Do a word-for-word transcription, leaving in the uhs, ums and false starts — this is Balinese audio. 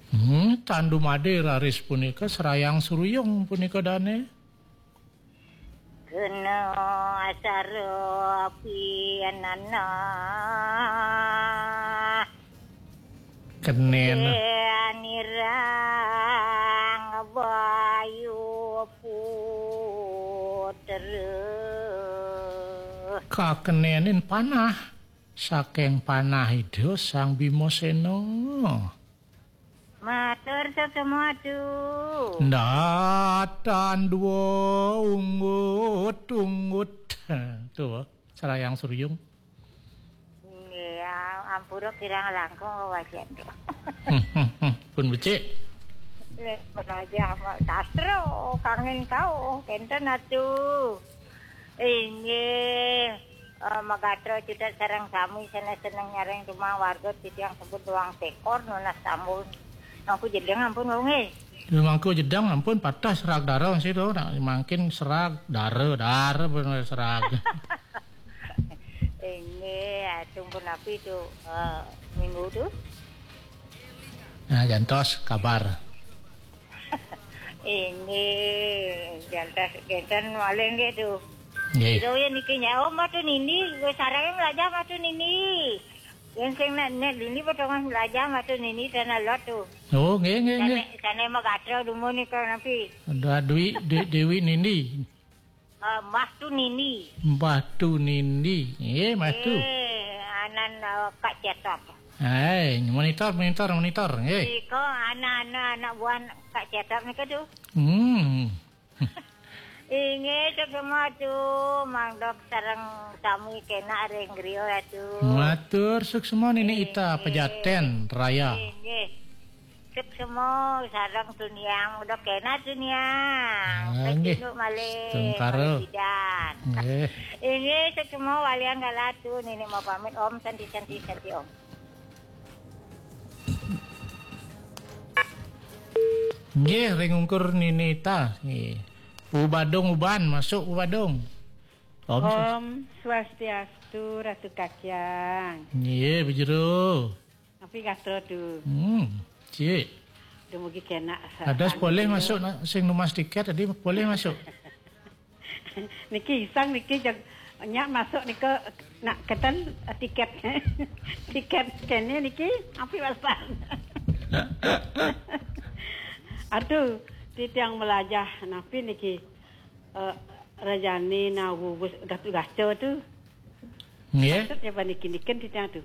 Hmm, tan dumadi raris punika, Srayang Suruyung punika dané. Kena asara pianana. Kenén. Nirang Bayu Putra. Kakenénin panah saking panah Ida Sang Bimasena. Matur suksma, Atu. Ndatan dua unggut-unggut. Tuh, Srayang Suruyung. Nggih, ampura kirang langkung wajan. Pun becik. Lek belajar sastra, kangen kau, kenten, Atu. Inggih, eh, magatra cedhak sareng sami sané seneng nyareng tumang warga titiang sebut doang sekor nunas tambun. Mangku jedeng ampun, Wau, nggih. Ya, mangku jedeng ampun patah serag dara sih tuh. Nak mangkin serag dara, dara bener serag. Inggih, atung punapi tuh, eh, minggu tuh. Nah, jantos kabar. Inggih, jantos kenten malih nggih tuh. Nggih. Kira ya niki nyawa matu nini, wis sareng melajah matu nini. Yang sing nek nek dini potongan melajah matu nini dan alot tuh. Oh, nggih, nggih, nggih. Sane, sane magatra dumun nika napi? Ada Dwi, Dwi, Dewi Nindi. Eh, Mbah Tu Nindi. Mbah Tu Nindi. Nggih, Mbah Tu. Eh, anan, eh, Kak Cetop. Hai, monitor, monitor, monitor. Nggih. Nika anak-anak, anak buah Kak Cetop nika tuh. Hmm. Inggih, suksma, Atu. Mangda sareng sami kenak ring griya, Atu. Matur suksma, Nini Ita, Pejaten Raya. Inggih. Suksma sareng Tuniang, udah kenak Tuniang. Ah, nggih. Kecunduk malih, Tentara. Malih bidan. Nggih. Inggih, suksma walian kala, Atu. Nini mau pamit, Om, Santi, Santi, Santi, Om. Nggih, ring ungkur Nini Ita. Nggih. Bu Badung Uban, masuk Bu Badung. Om. Om Swastiastu, Ratu Kacang. Nggih, Bu Jero. Napi gatra tu? Hmm, cik. Dumugi kenak sa-, ada sing polih masuk, nak, sing numas tiket tadi polih masuk. Niki isang niki jeg nyak masuk nika nak keten tiket. Tiket kene niki api wasan. Aduh, titiang melajah napi niki, eh, rajane nawuwus gatu-gaca tu. Nggih. Patut ya paniki niken titiang tu.